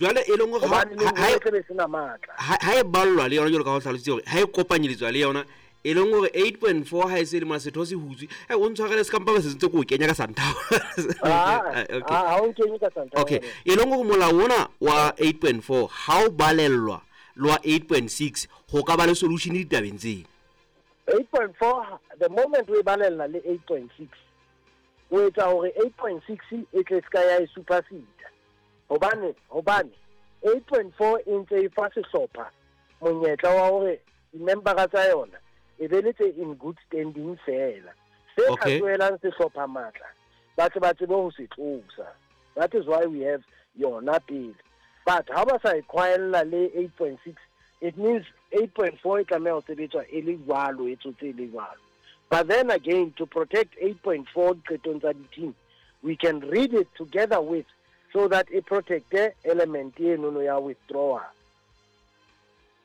Jwale e leng hore ha e sena matla, ha e ballwa le yona jwalo ka ho hlalositse hore ha e kopanyeletswa le yona, e leng hore 8.4 ha e se le mona setho se hutswe. O ntshwarele se kampa se ntse ko kenya ka santhao. Okay, ha o kenye ka santhao. Okay, e leng hore molao ona wa 8.4 ha o balellwa le wa 8.6 ho ka ba le solution ditabeng tseo. 8.4 the moment we balella le 8.6 o etsa hore 8.6 e tle ska ya e supersede. Hobane 8.4 e ntse e fa sehlopha monyetla wa hore di-membera tsa yona e be le tse in good standing fela. Se ka tsoelang sehlopha matla, ba tle ba tsebe ho se tlosa. That is why we have yona pele. But ha ba sa e khwaella le 8.6, it means 8.4 e tlameha ho sebetswa e le jwalo, e tsotse e le jwalo. But then again, to protect 8.4 diqetong tsa di-team, we can read it together with, so that it protect element eno ya withdrawal.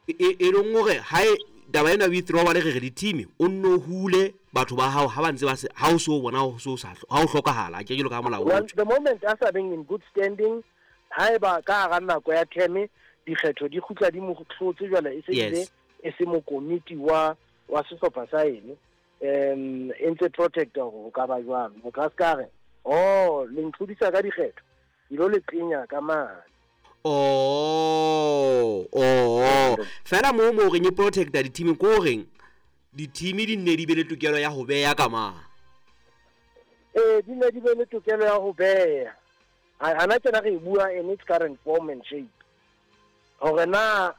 E leng hore ha e taba ena withdrawal re re di-team o nno hule batho ba hao ha ba ntse ba se ha o so bona ho so sa ha o hlokahala ke jelo ka molao. Well, the moment a sa being in good standing, haeba ka hara nako ya term dikgetho di kgutla di mo hlotse jwale e se ile e se mokomiti wa sehlopha sa ene, e ntse protect hore o ka ba jwang. Motho a se ka re oh le ntlhodisa ka dikgetho dilo le tsenya ka mane. Oh, fela mo reng e protecta di-team ko reng di-team di nne di be le tokelo ya ho beha ka mang? Di nne di be le tokelo ya ho beha. Hana tjena re bua in its current form and shape. Hore na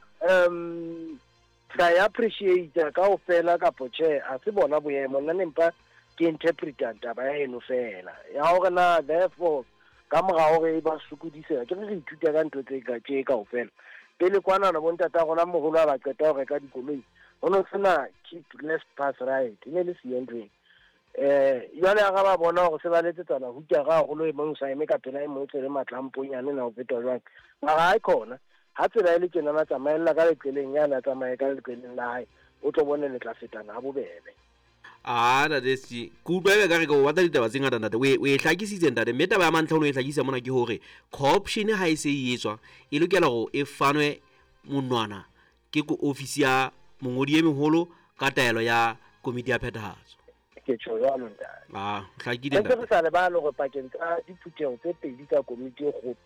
tla e appreciate kaofela kapo tjhe, ha se bona boemo. Nna nempa ke interpreta taba ya eno fela. Ya hore na therefore ka mora hore ba sokodise ke re ithuta ka ntho tse ka tje kaofela. Pele kwana na bontata rona moholo a ba qeta ho reka dikoloi, ho no sena keep left pass right, e ne le siyo ntho eno. Jwale ha ba bona hore se ba letsetsana hutara haholo, e mong sa eme ka pela e mong tsele matlamponyane na ho feta jwang. Mara ha e khona, ha tsela e le tjena na tsamaella ka leqeleng yana, tsamaye ka leqeleng la hae, o tlo bone le tla fetana ha bobebe. Ah, ntate SG, ke utlwa ebe ka re ke o batla ditaba tse ngata ntate. O e hlakisitse ntate, mme taba ya mantlha o no e hlakisa mona ke hore co-option ha e se e etswa e lokela hore e fanwe monwana ke ko ofisi ya mongodi e moholo ka taelo ya komiti ya phethahatso. Ke tjho jwalo ntate. Ah, hlakile ntate. Re sa lebale hore pakeng tsa diphutheho tse pedi tsa komiti e kgolo,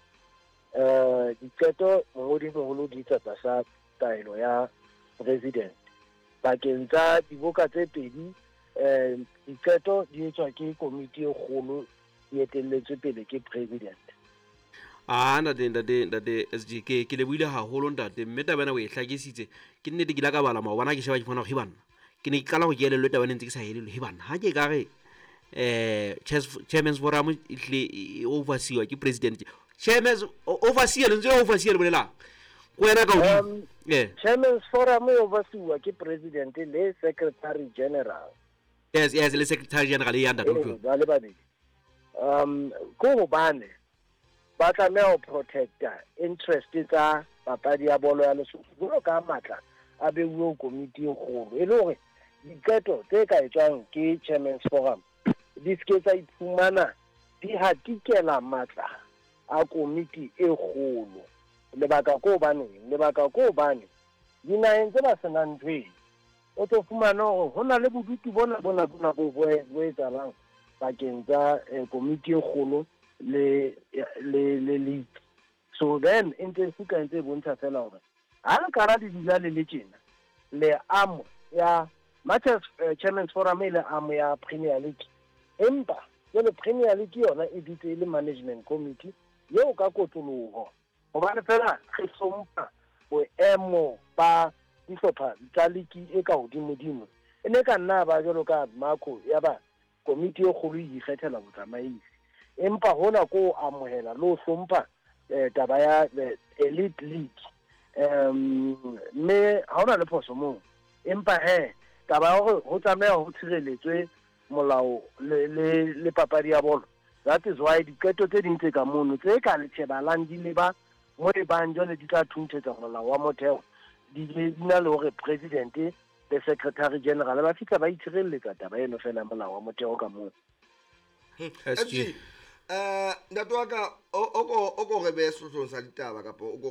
diqeto mongodi moholo di etsa tlasa taelo ya president. Pakeng tsa diboka tse pedi, diqeto di etswa ke komiti e kgolo e etelletswe pele ke president. Ah, ntate SG, ke lebohile haholo ntate, mme taba ena o e hlakisitse. Ke nnete ke ile ka bala maobane ke sheba ke fumana hore banna ke ne ke qala ho ke elellwe taba ena ntse ke sa elellwe. He banna ha ke ka re chairman's forum e hlile e overseer ke president. Chairman's overseer lentswe la overseer le bolelang ko wena ka hodimo. Chairman's forum e overseer ke president le secretary general. Yes, le secretary general e ya ntate utlwe. Ba le babedi. Ko hobane ba tlameha ho protecta interest tsa papadi ya bolo ya Lesotho jwalo ka matla a beuwe komiti e kgolo, e le hore diqeto tse ka etswang ke chairman's forum di se tsa iphumana di hatikela matla a komiti e kgolo. Lebaka ko hobane dinaheng tse ba senang ntho eno, o tlo fumana hore ho na le bodutu bona bo etsahalang pakeng tsa komiti e kgolo le league. So then e ntse e ntse e bontsha fela hore ha le kara le dula le le tjena, le amo ya Matters Chairman's Forum e le amo ya Premier League, empa jwale Premier League yona e dutse e le management committee eo ka kotloloho, hobane fela re hlompha boemo ba dihlopha tsa league e ka hodimodimo. E ne ka nna ba jwalo ka Marco ya ba komiti e kgolo e ikgethela botsamaisi, empa hona ko amohela le ho hlompha taba ya elite league. Mme ha hona le phoso moo, empa he taba ya hore ho tlameha ho tshireletswe molao le papadi ya bolo. That is why diqeto tse ding tse ka mono tse ka le shebalang di leba mo e bang jwale di tla thunthetsa molao wa motheo, di na le hore president le secretary general ba fihla ba itshireletsa taba eno fela molao wa motheo ka moo. SG. Ntate wa ka, o ko re behe sehlohlolong sa ditaba, kapa o ko